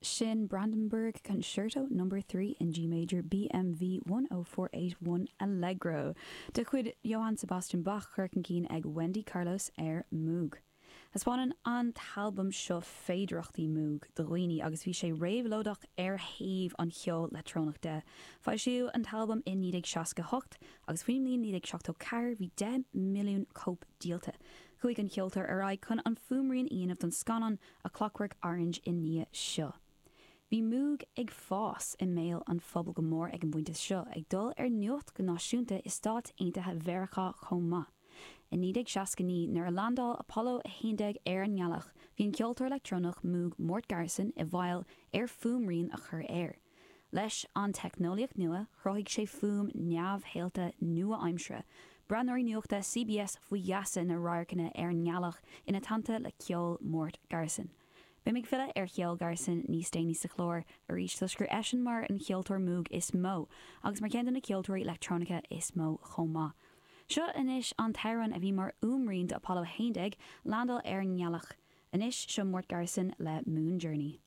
Sin Brandenburg Concerto No. 3 in G Major BMV 10481 Allegro de chuid Johann Sebastian Bach curtha chun cinn ag Wendy Carlos ar Moog. Thaispeáin an t-albam seo féidearthachtaí Moog do dhaoine agus bhí sé réabhlóideach ar thaobh an cheoil leictreonach de. Foilsíodh an t-albam i 1968 agus faoin mbliain 1974 bhí 10 milliún cóip díolta. Chuaigh an ceoltóir ar aghaidh chun an fuaimrian a dhéanamh don scannán A Clockwork Orange i ndiaidh seo. Bhí Moog ag fás i mbéal an phobail go mór ag an bpointe seo, ag dul ar nuacht go náisiúnta i Stáit Aontaithe Mheiriceá chomh maith. I 1969, nuair a landáil Apollo 11 ar an ngealach, bhí an ceoltóir leictreonach Moog Mort Garson i bhfeighil ar fuaimrian a chur air. Leis an teicneolaíocht nua, chruthaigh sé fuaim neamhshaolta nua-aimseartha. Breathnóirí nuachta CBS faoi gheasa na radharcanna ar an ngealach ina teannta le ceol Mort Garson. Beidh mé ag filleadh ar cheol Garson níos déanaí sa chlár arís toisc gur eisean mar an cheoltóir Moog is mó agus mar cheann de na ceoltóirí leictreonacha is mó chomh maith. Seo anois an t-amhrán a bhí mar fhuaimrian do Apollo 11 landáil ar an ngealach. Anois seo Mort Garson le Moon Journey.